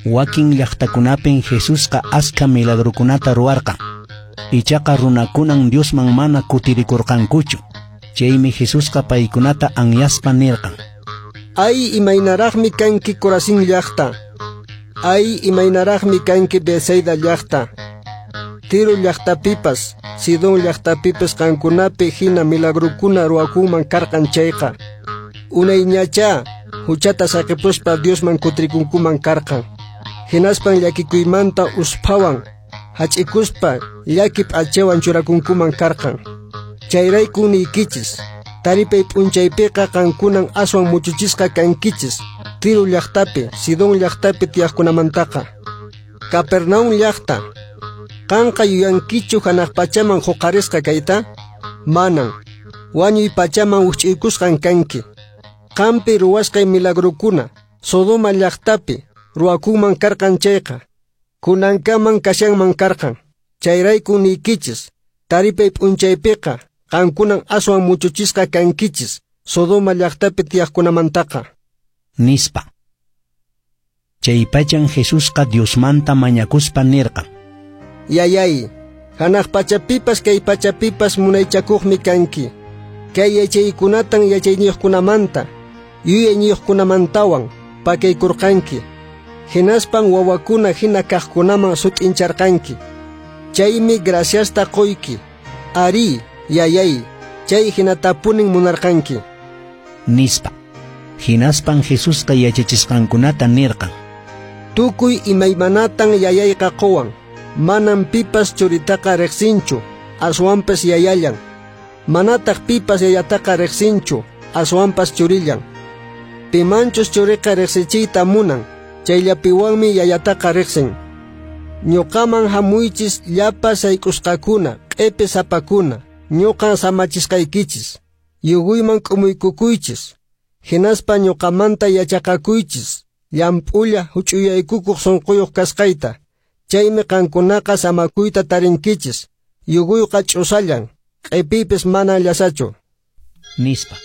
Wakin llaqtakunapin Jesusqa askha milagrokunata ruwarqan. Ichaqa runakunan Diosman mana kutirikurqankuchu. Chaymi Jesusqa paykunata anyaspa nirqan: Ay, imaynaraqmi kanki Corazín llaqta. Ay, imaynaraqmi kanki Betsaida llaqta. Tiro llaqtapipas, Sidón llaqtapipas qankunapi hina milagrokuna ruwakunman karqan chayqa. Unayñachá huchata saqipuspa Diosman kutirikunkuman karqan. Hinaspan llakikuymanta usphawan hach'ikuspa llaki p'achawan churakunkuman karqan. Chayrayku niykichis, taripay p'unchaypiqa qankunan aswan muchuchisqa kankichis Tiro llaqtapi, Sidón llaqtapi tiyaqkunamantaqa. Capernaum llaqta, qanqa yuyankichu hanaq pachaman huqarisqa kayta? Manan. Wañuy pachaman wikch'uykusqan kanki. Qampi ruwasqay milagrokuna Sodoma llaqtapi ruwakunman karqan chayqa, kunankaman kashanman karqan. Chayrayku niykichis, taripay p'unchaypiqa qankunan aswan muchuchisqa kankichis Sodoma llaqtapi tiyaqkunamantaqa. Nispa. Chaypachan Jesusqa Diosmanta mañakuspa nirqan: Yayay, hanaq pachapipas kay pachapipas munaychakuqmi kanki. Kay yachaykunatan yachayniyuqkunamanta, yuyayniyuqkunamantawan pakaykurqanki. Hinaspan wawakuna hina kaqkunaman sut'incharqanki. Chaymi graciasta qoyki. Arí, yayay, chay hinatapunin munarqanki. Nispa. Hinaspan Jesusqa yachachisqankunata nirqan: Tukuy imaymanatan yayayqa qowan. Manan pipas churitaqa riqsinchu, aswanpas yayallan. Manataq pipas yayataqa riqsinchu, aswanpas churillan. Pimanchus churiqa riqsichiyta munan, chayllapiwanmi yayataqa riqsin. Ñuqaman hamuychis llapa sayk'usqakuna, q'ipi sapakuna, ñuqan samachisqaykichis. Yuguyman k'umuykukuychis, hinaspa ñuqamanta yachaqakuychis, llamp'ulla huch'uyaykukuq sunquyuq kasqayta. Chaymi qankunaqa samakuyta tarinkichis. Yuguyqa ch'usallan, q'ipiypis mana llasachu. Nispa.